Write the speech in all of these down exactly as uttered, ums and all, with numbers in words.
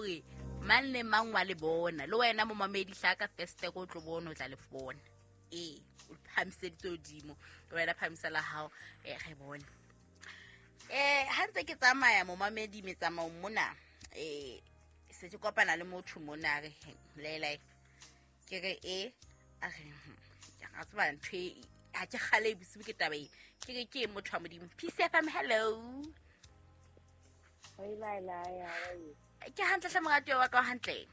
hore mang le mang wa le bona. Le wena momamedi hlaka festere o tlo bona o tla le bona. Ee, o phahamiseditse hodimo. Wena phahamisa la hao, eh re bone. Eh ha ntse ke tsamaya momamedi metsamaong mona, eh se ke kopana le motho mona re lele ke re e a re ke ga tseba ntho e ha ke kgale bosiu ke taba e ke re ke motho wa Modimo. Peace F M, hello. Hey Laila, how are you? Ke hantle hle moratuwa wa ka hantle.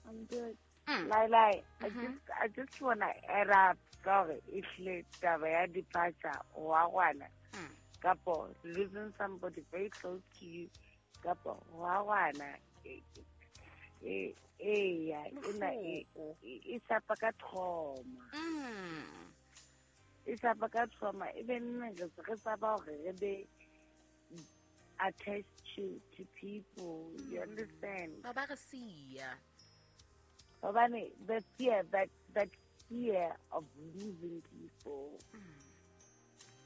I'm good. Mm. Laila, I Mhm. just I just wanna add up ka hore ehlile taba ya departure wa ngwana Mm. kapo losing somebody very close to you kapo wa ngwana e e eya ena e Bohloko. e sapa ka trauma. Mm. E sapa ka trauma e be nna re re tsaba hore re be attached to to people, you understand? Ba ba re siya. Hobane the fear that that fear of losing people,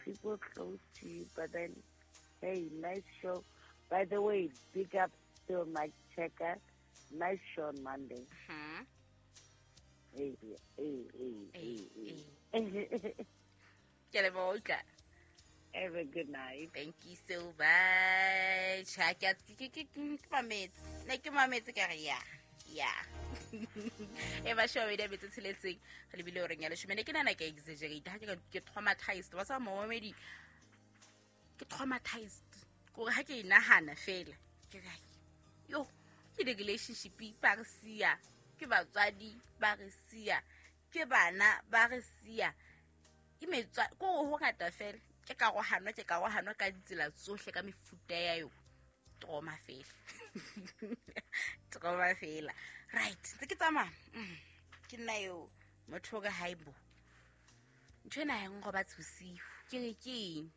people close to you, but then hey, nice show. By the way, big up still Mike Checker. Nice show on Monday. Mhm. Hey, hey, hey, Hey, hey, hey. Ke leboha utlwa. Have a good night. Thank you so much. Ha ke ke ke ke ke mametse. Ne ke mametse ka re ya. Ya. E ba show e metse tsheletseng re lebile hore ya leshome. Ne ke nana ke exaggerate ha ke ka- ke traumatized. Wa tseba momamedi ke traumatized. Kore ha ke e nahana fela ke re yo ke di relationship ba re siya, ke batswadi ba re siya, ke bana ba re siya, ke metswa ko ho ngata fela. Ke karohano, ke karohano ka ditsela tsohle ka mefuta ya yo. Trauma fela. Trauma fela. Right, ntse ke tsamaya. Mm, ke nna eo motho o re haibo. Ntho ena ha e nrobatse bosiu. Ke re ke eng?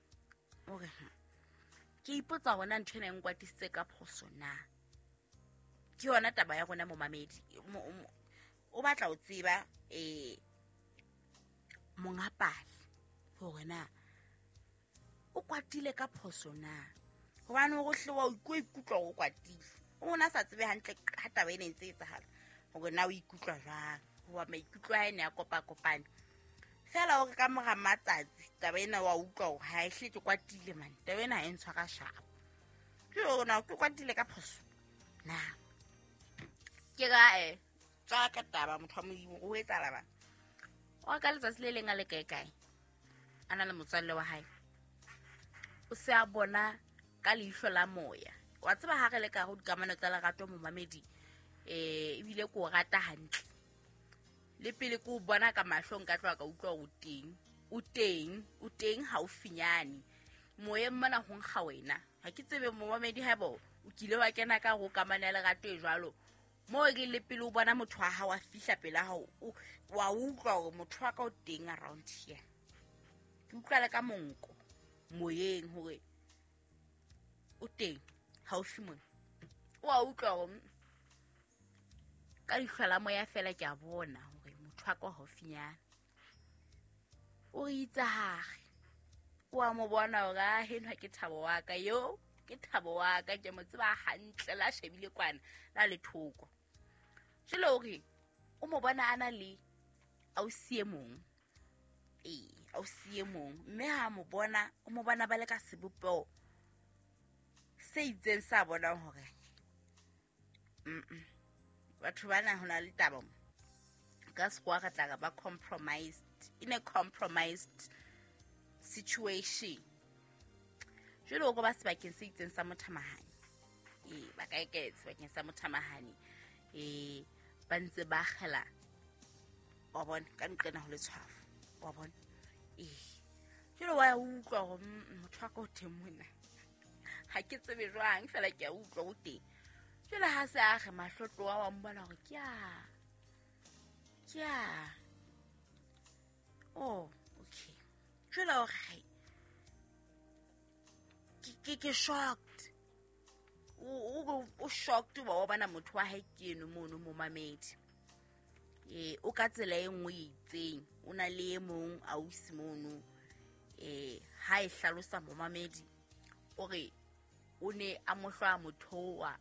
O re, hm, ke ipotsa hore na ntho ena e nkwatisitse ka phoso na. Ke yona taba ya rona momamedi. Mo-, mo-, o batla ho tseba, eh, monga pale hore na o kwatile ka phoso na. Hobane hore o hle wa o ikutlwa o kwatile. O na sa tsebe hantle ha taba ena e ntse e etsahala hore na o ikutlwa jwang. Hoba maikutlo a hae ne a kopakopane. Feela hore ka mora matsatsi taba ena wa utlwa hore ha e hle ke kwatile man. Taba ena ha e ntshwara sharp. Ke hore na ke kwatile ka phoso na. Ke ra, eh, tswa ka taba motho wa Modimo o etsahala bang. O ka letsatsi le leng a le kae kae a na le motswalle wa hae. O se a bona ka leihlo la moya. Wa tseba ha re le ka ho dikamano tsa lerato momamedi, eh, ebile ke o rata hantle. Le pele ke o bona ka mahlo nka tloha ka utlwa o teng. O teng, o teng haufinyane. Moyeng mona ho nkga wena. Ha ke tsebe momamedi haeba o kile wa kena ka ho kamano ya lerato e jwalo. Moo e le pele o bona motho wa hao a fihla pela hao, o wa utlwa hore motho wa ka o teng around here. Ke utlwa le ka monko moyeng hore o teng haufi mona. O a utlwa hore ka leihlo la moya fela ke a bona hore motho wa ka o haufinyana. O re itse hare. O a mo bona hore a henwa ke Thabo wa ka yo, ke Thabo wa ka ke mo tseba hantle la shebile kwana la le thoko. Jwale o re o mo bona a na le ausi e mong. Ee, ausi e mong. Mme ha mo bona, o mo bona ba le ka sebopeho se itseng sa bonang hore mm-mm, batho bana ho na le taba mo. Ka sekgowa re tla re ba compromised, in a compromised situation. Jwale o ko ba sebakeng se itseng sa mothamahane. Ee, ba kae kae sebakeng sa mothamahane. Ee, ba ntse ba kgela. Wa bona, ka nqena ho letshwafo. Wa bona? Ee. Jwale wa utlwa hore, mm, motho wa ka o teng mona. Ha ke tsebe jwang, feela ke a utlwa o teng. Jwale ha se a re mahlo tloha wa mbona hore ke a, ke a. Oh, okay. Jwale o re, hai, ke, ke, ke shocked. O, o, o shocked wa bona motho wa hae ke eno mono momamedi. Eh, o ka tsela e nngwe e itseng, o na le e mong ausi mono. Eh, ha e hlalosa momamedi, o re o ne a mo hlwa motho wa